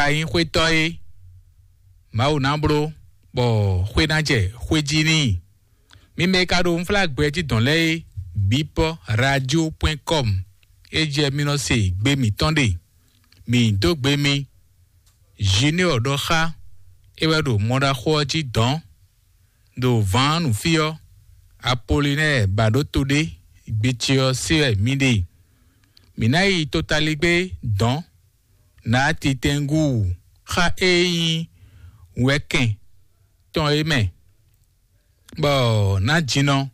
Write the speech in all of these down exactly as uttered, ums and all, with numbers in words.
Ayínxwétɔ́ é, Mawu ná bló, bɔ xwé ná jɛ xwé jí n'i. Mi mɛ e ka ɖo unflágbɛ jí dɔn lɛ́ɛ é, bipɔ radio point com, é jɛ mi nɔ se gbe mǐtɔn ɖe. Mǐ dó gbe mi. Junior ɖɔ xá, é wɛ ɖo mɔɖaxó ɔ́ jí dɔn, ɖo vǎn nǔ fí ɔ́, Apolinɛ́ɛ ba ɖó to ɖé, gbe ce ɔ́ se wɛ mǐ ɖe. Mǐ ná yi totaligbé dɔn, ná titɛngú xa e nyí wɛkɛn tɔn é mɛ, bɔ ná jinɔ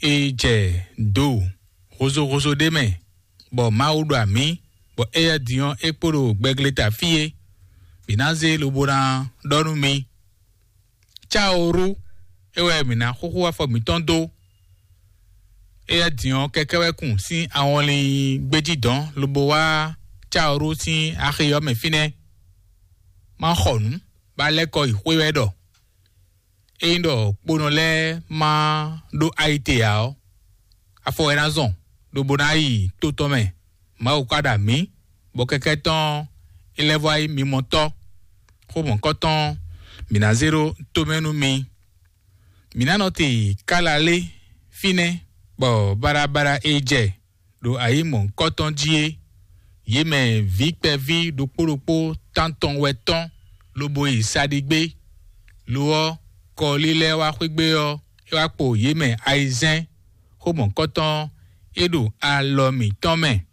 e jɛ do hozóhozó ɖé mɛ, bɔ Mawu ɖo amǐ, bɔ éyɛ́ din ɔ́ é kpo ɖo gbɛgleta fí é. Mǐ ná zé lobo ná ɖɔ nú mi. Cáoru é wɛ mǐ ná xúxú afɔ mǐtɔn dó. Éyɛ́ din ɔ́ kɛkɛ́ wɛ kun sín awɔnlin gbéjí dɔn lobo wá Cáoru sín axi ɔ́ mɛ fínɛ́. Má xɔ nǔ, bá lɛ́ kɔ yi xwé wɛ ɖɔ. Ényí ɖɔ kponɔ lɛ́ɛ má ɖó ayite ǎ ɔ́, afɔ wɛ ná zɔn, lobo ná yi tó tɔn mɛ. Mawu ka ɖo amǐ, bɔ kɛkɛ́ tɔn é lɛ́ vɔ wá nyí mimɔtɔ́. Xó mɔ̌kɔtɔn mǐ ná zé ɖó tomɛ nú mi. Mǐ ná nɔ te kálalé fínɛ́, bɔ baɖabaɖa e jɛ ɖo ayǐ mɔ̌hunkɔtɔn jí é. Yě mɛ vǐ kpɛví ɖokpó ɖokpó tántɔn wɛ tɔ́n, lobo yi saɖigbé. Lo ɔ́, kɔlí lɛ́ɛ wá xwé gbé ɔ́, é wá kpo yě mɛ ayizɛ́n. Xó mɔ̌hunkɔtɔn é ɖo alɔ mǐtɔn mɛ.